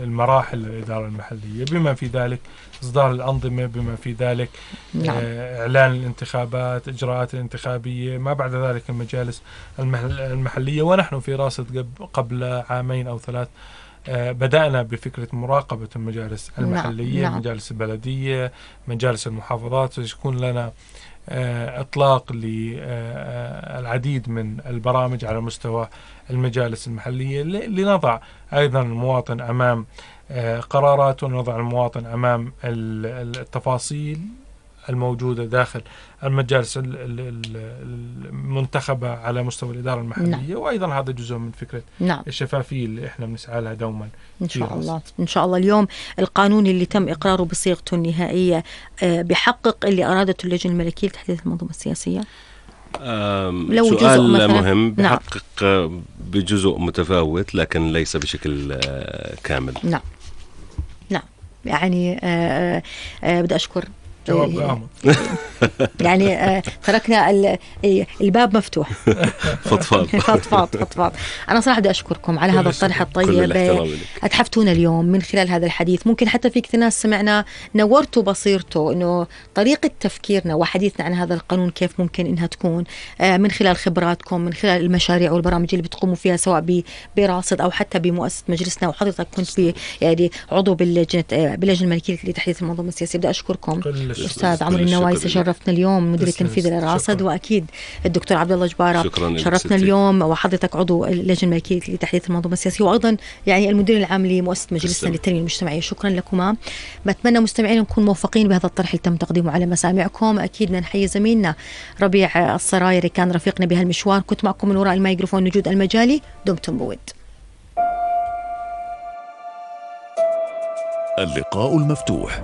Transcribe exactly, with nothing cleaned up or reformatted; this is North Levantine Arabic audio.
المراحل الإدارة المحلية، بما في ذلك إصدار الأنظمة، بما في ذلك نعم. إعلان الانتخابات، إجراءات الانتخابية، ما بعد ذلك المجالس المحلية. ونحن في راصد قبل عامين أو ثلاث بدأنا بفكرة مراقبة المجالس المحلية، نعم. مجالس البلدية، مجالس المحافظات، يكون لنا إطلاق للعديد من البرامج على مستوى المجالس المحلية لنضع أيضا المواطن أمام قرارات، ونضع المواطن أمام التفاصيل الموجودة داخل المجالس المنتخبة على مستوى الإدارة المحلية. نعم. وأيضا هذا جزء من فكرة نعم. الشفافية اللي إحنا بنسعى لها دوما إن شاء الله. إن شاء الله اليوم القانون اللي تم إقراره بصيغته النهائية بحقق اللي أرادته اللجنة الملكية لتحديث المنظومة السياسية. لو سؤال مهم، بحقق نعم. بجزء متفاوت لكن ليس بشكل كامل. نعم نعم يعني آه آه بدي أشكر جواب غامض. يعني آه تركنا الباب مفتوح. فضفاض فضفاض فضفاض. أنا صراحة بدي أشكركم على هذا الطرح الطيب، أتحفتونا اليوم من خلال هذا الحديث. ممكن حتى في كثير ناس سمعنا نورتوا بصيرته إنه طريقة تفكيرنا وحديثنا عن هذا القانون كيف ممكن إنها تكون آه من خلال خبراتكم، من خلال المشاريع والبرامج اللي بتقوموا فيها سواء براصد أو حتى بمؤسسة مجلسنا. وحضرتك كنت ب يعني عضو باللجنة آه باللجنة الملكية لتحديث المنظومة السياسية. بدي أشكركم أستاذ عمرو النوايسي، شرفتنا اليوم مدير التنفيذي للراصد، وأكيد الدكتور عبد الله جبارة شرفتنا اليوم، وحضرتك عضو اللجنة الملكية لتحديث المنظومة السياسية، وأيضا يعني المدير العام لمؤسسة مجلسنا للتنمية المجتمعية. شكرا لكما. بتمنى مستمعين نكون موفقين بهذا الطرح اللي تم تقديمه على مسامعكم. أكيد بدنا نحيي زميلنا ربيع الصرايري كان رفيقنا بهالمشوار. كنت معكم من وراء الميكروفون نجود المجالي. دمتم بود. اللقاء المفتوح.